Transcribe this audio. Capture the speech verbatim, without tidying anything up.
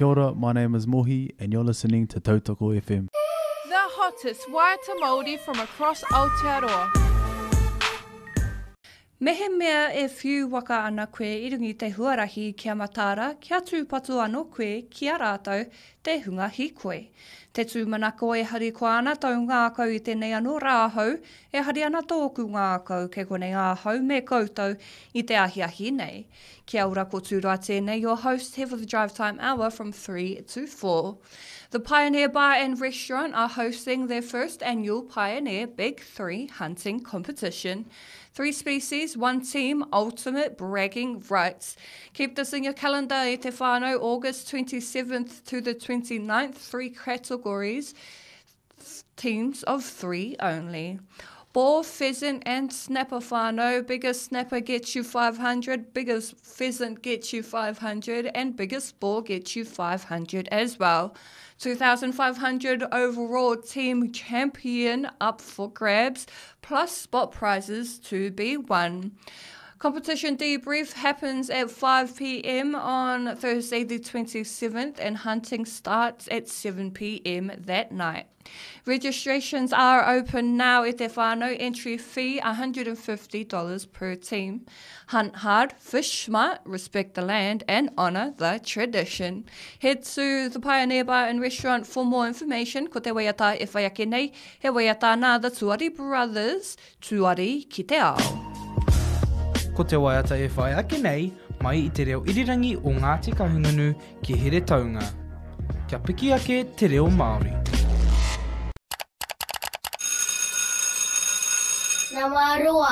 Kia ora, my name is Mohi and you're listening to Tautoko FM. The hottest waiata Māori from across Aotearoa. Mehemea e whiu waka ana koe i runga i te huarahi kia mataara, kia tūpato anō koe ki a rātou te hunga hīkoi. Te tūmanako e harikoa ana tau ngākau i tēnei anō rā hou, e hari ana tōku ngākau kei konei ahau me koutou i te ahiahi nei. Kia ora ko Tūroa tēnei, your host here for the Drive Time Hour from three to four. The Pioneer Bar and Restaurant are hosting their first annual Pioneer Big Three Hunting Competition. Three species, one team, ultimate bragging rights. Keep this in your calendar, e te whānau, August twenty-seventh to the twenty-ninth, three categories, teams of three only. Boar, pheasant and snapper whānau. Biggest snapper gets you five hundred, biggest pheasant gets you five hundred, and biggest boar gets you five hundred as well. two thousand five hundred overall team champion up for grabs, plus spot prizes to be won. Competition debrief happens at five P M on Thursday the twenty-seventh and hunting starts at seven P M that night. Registrations are open now at te whānau. Entry fee a hundred and fifty dollars per team. Hunt hard, fish smart, respect the land and honour the tradition. Head to the Pioneer Bar and Restaurant for more information. Ko te waiata e whai ake nei, he waiata nā the Tuari Brothers, Tuari ki te ao. Ko te waiata e whai ake nei, mai i te reo irirangi o Ngāti Kahungunu ki Heretaunga. Kia piki ake te reo Māori. Namaroa.